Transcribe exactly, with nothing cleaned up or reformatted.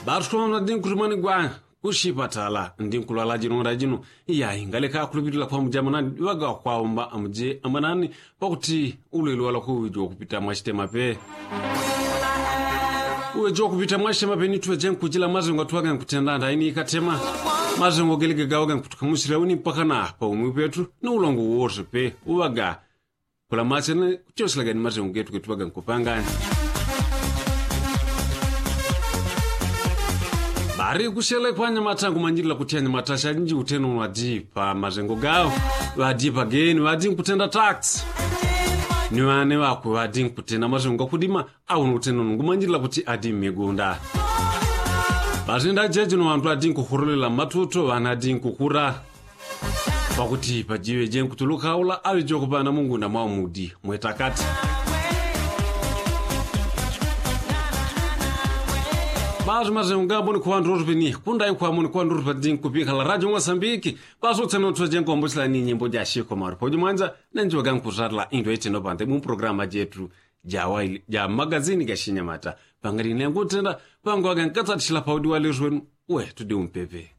Ŵatukomana ndi nkutumani gwa kushipatala ndi nkulwala jino nda jino. Iyayi ngaleka akulupilila kwamujama nani ŵaga kwaomba amuje ambanani pakuti ulwele walako uweji wakupita mwachitema pe. Uweji wakupita mwachitema pe nituŵeje nkujila mazengo atuŵaga nkutenda nda ini ikatema. Mazengo gelega gaŵaga nkutukamushila uni mpaka na paumwi petu ni ulongo wose pe uŵaga kula machene kuchoselaga ni mazengo getu getuŵaga nkupangani. Bari kushele kwanyamata nkumanjilila kuti anyamata shalinji uteno ŵadi pa mazengo gawo ŵadi pageni ŵadi nkutenda taksi. Ni ŵane ŵakwe ŵadi nkutenda mazengo gakudima. Awo ni uteno nkumanjilila kuti adi mmigunda. Ŵatenda jeje no ŵandu ŵadi nkukurolela mmatuto ŵana adi nkukura. Pakuti pajiŵeje nkutuluka ula aŵeje kuŵana mungunda mwa umudi mwetakati. Ŵatu mazengo gambo ni kuŵandu rotu peni kundayi kwamo ni kuŵandu rotu peni nkupikala radio mwasambiki. Ŵatu utseno tuŵeje nkombochela ni nyimbo jashiko mauri poji mwanja nenjiŵaga nkuzatila indo iteno pande mu programa jetu ja magazini gashinyamata. Pangali nengo utenda pango ŵaga nkatsatisila paudi walesu wenu. We tudi umpepe.